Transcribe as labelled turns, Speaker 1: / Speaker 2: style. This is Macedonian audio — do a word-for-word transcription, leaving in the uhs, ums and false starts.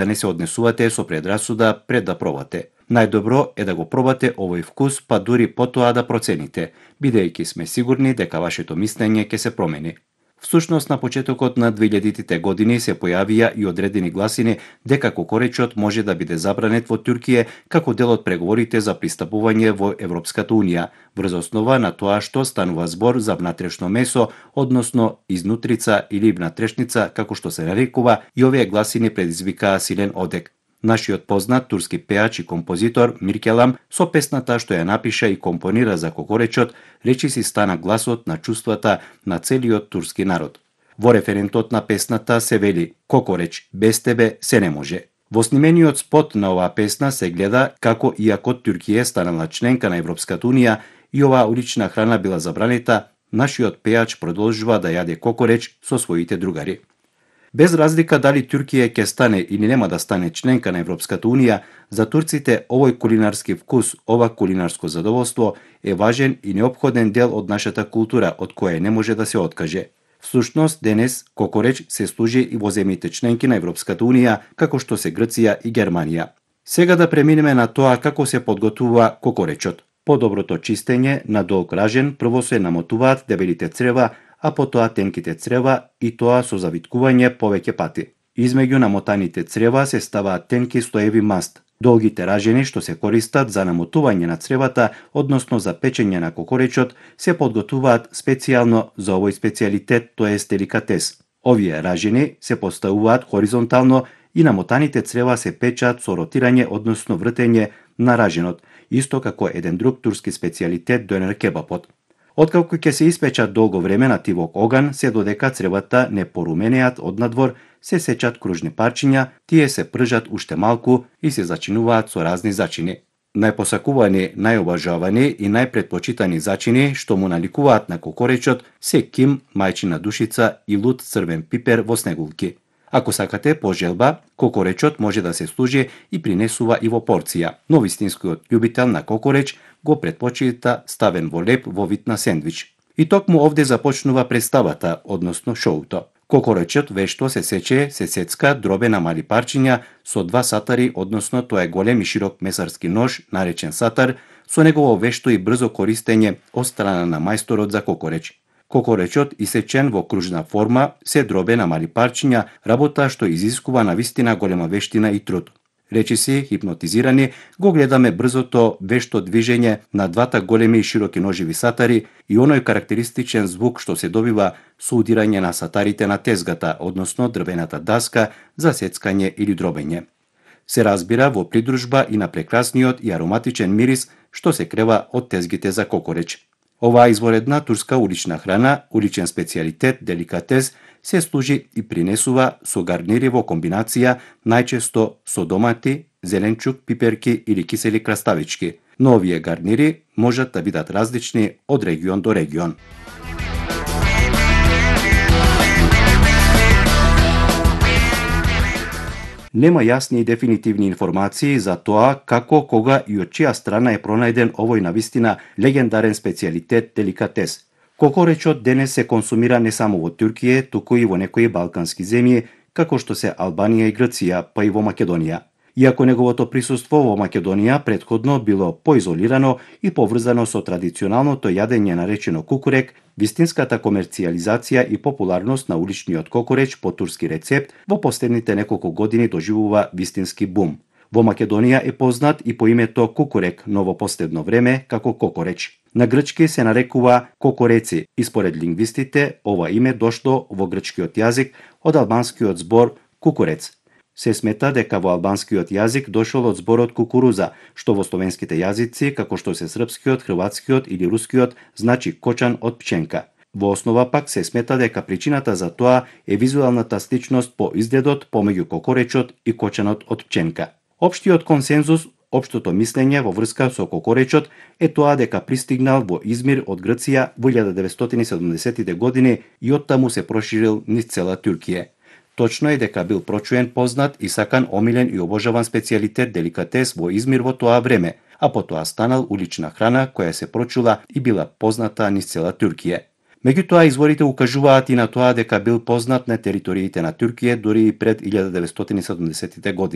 Speaker 1: да не се однесувате со предрасуда пред да пробате. Најдобро е да го пробате овој вкус, па дури потоа да процените, бидејќи сме сигурни дека вашето мислење ќе се промени. Всушност, на почетокот на двеилјадитите години се појавија и одредени гласини дека кокоречот може да биде забранет во Турција како дел од преговорите за пристапување во Европската унија, врз основа на тоа што станува збор за внатрешно месо, односно изнутрица или внатрешница, како што се нарекува, и овие гласини предизвикаа силен одек. Нашиот познат турски пеач и композитор Миркелам со песната што ја напиша и компонира за кокоречот, речиси стана гласот на чувствата на целиот турски народ. Во референтот на песната се вели: "Кокореч, без тебе се не може". Во снимениот спот на оваа песна се гледа како иако Туркија станала членка на Европската унија и оваа улична храна била забранета, нашиот пеач продолжува да јаде кокореч со своите другари. Без разлика дали Туркија ќе стане или нема да стане членка на Европската унија, за турците овој кулинарски вкус, ова кулинарско задоволство е важен и неопходен дел од нашата култура, од која не може да се откаже. Всушност, денес кокореч се служи и во земјите членки на Европската унија, како што се Грција и Германија. Сега да преминеме на тоа како се подготвува кокоречот. По доброто чистење на долг ражен прво се намотуваат дебелите црева, а потоа тенките црева, и тоа со завиткување повеќе пати. Измеѓу намотаните црева се ставаат тенки слоеви маст. Долгите ражени што се користат за намотување на цревата, односно за печење на кокоречот, се подготвуваат специјално за овој специјалитет, тоест деликатес. Овие ражени се поставуваат хоризонтално и намотаните црева се печат со ротирање, односно вртење на раженот, исто како еден друг турски специјалитет донер кебапот. Откако ќе се испечат долго време на тивок оган, се додека цревата не поруменеат однадвор, се сечат кружни парчиња, тие се пржат уште малку и се зачинуваат со разни зачини. Најпосакувани, најобажавани и најпретпочитани зачини што му наликуваат на кокоречот се ким, мајчина душица и лут црвен пипер во снегулки. Ако сакате по желба, кокоречот може да се служи и принесува и во порција, но вистинскиот љубител на кокореч го претпочита ставен во леп во вид на сендвич. И токму овде започнува представата, односно шоуто. Кокоречот вешто се сече, се сецка дробе на мали парчиња со два сатари, односно тоа е голем и широк месарски нож, наречен сатар, со негово вешто и брзо користење од страна на мајсторот за кокореч. Кокоречот, исечен во кружна форма, се дробе на мали парчиња, работа што изискува навистина голема вештина и труд. Речиси, хипнотизирани, го гледаме брзото вешто движење на двата големи и широки ножеви сатари и оној карактеристичен звук што се добива со удирање на сатарите на тезгата, односно дрвената даска за сецкање или дробење. Се разбира во придружба и на прекрасниот и ароматичен мирис што се крева од тезгите за кокореч. Оваа изворедна турска улична храна, уличен специјалитет, деликатес, се служи и принесува со гарнири во комбинација, најчесто со домати, зеленчук, пиперки или кисели краставички, но овие гарнири можат да бидат различни од регион до регион. Нема јасни и дефинитивни информации за тоа како, кога и од чија страна е пронајден овој навистина легендарен специјалитет деликатес. Кокоречот денес се консумира не само во Туркија, туку и во некои балкански земји, како што се Албанија и Грција, па и во Македонија. Иако неговото присуство во Македонија претходно било поизолирано и поврзано со традиционалното јадење наречено кукурек, вистинската комерцијализација и популарност на уличниот кокореч по турски рецепт во последните неколку години доживува вистински бум. Во Македонија е познат и по името кукурек, но во последно време како кокореч. На грчки се нарекува кокореци и според лингвистите ова име дошло во грчкиот јазик од албанскиот збор кукурец. Се смета дека во албанскиот јазик дошол од зборот кукуруза, што во словенските јазици, како што се српскиот, хрватскиот или рускиот, значи кочан од пченка. Во основа пак се смета дека причината за тоа е визуелната сличност по изгледот помеѓу кокоречот и кочанот од пченка. Општиот консензус, општото мислење во врска со кокоречот е тоа дека пристигнал во Измир од Грција во илјада деветстотини и седумдесетите години и оттаму се проширил низ цела Туркија. Точно е дека бил прочуен, познат и сакан, омилен и обожаван специјалитет деликатес во Измир во тоа време, а потоа станал улична храна која се прочула и била позната низ цела Туркија. Меѓутоа, изворите укажуваат и на тоа дека бил познат на териториите на Туркија дури и пред илјада деветстотини и седумдесетите години.